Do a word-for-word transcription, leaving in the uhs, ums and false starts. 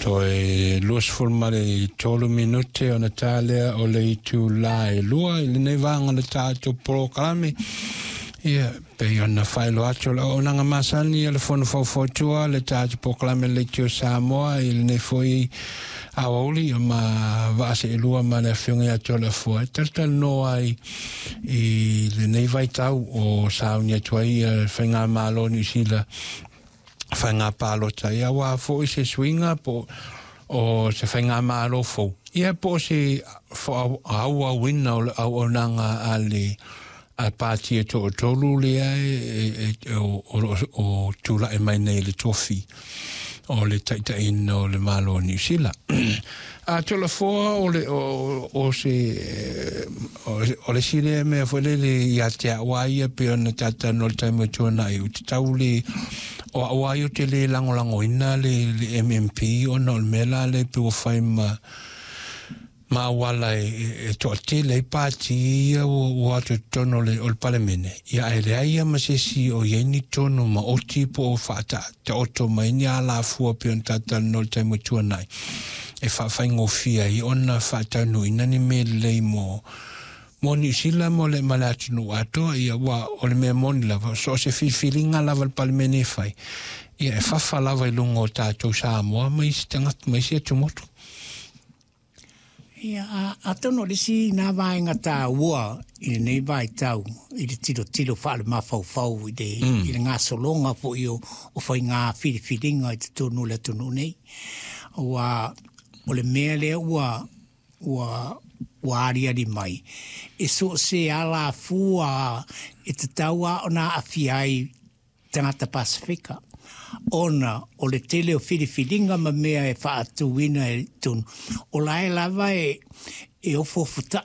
Toe luasefulu ma le tolu minute ona tā lea o le itulā e lua i lenei vaega o le tatou polokalame. Ia, pei ona faailoa atu o le auaunaga masani a le Fono Faufautua le tatou polokalame Leitio Samoa i lenei foi aoauli ma vaaseelua ma le afioga ia Toleafoa e talatalanoa ai i lenei vaitau o sauni atu ai le faigamalo o Niu Sila faiga palota, ia aua foi se suiga po o se faigamalo fou, ia po o se auauina o le auaunaga a le a pati e toatolu lea e, e, o, o, o tula'i mai nei le tofi o le taitaiina o le Malo o Niu Sila. A Toleafoa, o le o, o se o le isi lea mea foi lele ia te a'u a ia pei ona tatalanoa i le taimi o tuana'i ou te tau le o a'u a ia ou te le lagolagoina le, le M M P ona o le mea la lea pe ua fai ma ma auala e, e toatele ai pati ia ua, ua atu i totonu o le, o le Palemene, ia ae leai ia ma se isi o i ai ni tonu maoti po o faataoto mai ni alafua pei ona talatalanoa i le taimi o tuanai e faafaigofie ai ona faataunuuina ni mea lelei mo mo Niu Sila mo le ma le atunuu atoa. Ia ua o le mea moni lava, so o se filifiliga lava le Palemene e fai, ia e fafa lava i luga o tatou Samoa ma isi tagata ma isi atumotu. Ia, atonu o le isi na vaega taua i lenei vaitau i le tilotilo faale-mafaufau i le, mm. i le gasologa foi o, o faiga filifiliga i totonu o le atunuu nei. Ua, o le mea lea ua, ua, ua aliali mai, e so o se alafua e tatau a ona aafia ai tagata Pasifika ona o le tele o filifiliga ma mea e faatuina i totonu o la e lava e, e ofoofuta'i.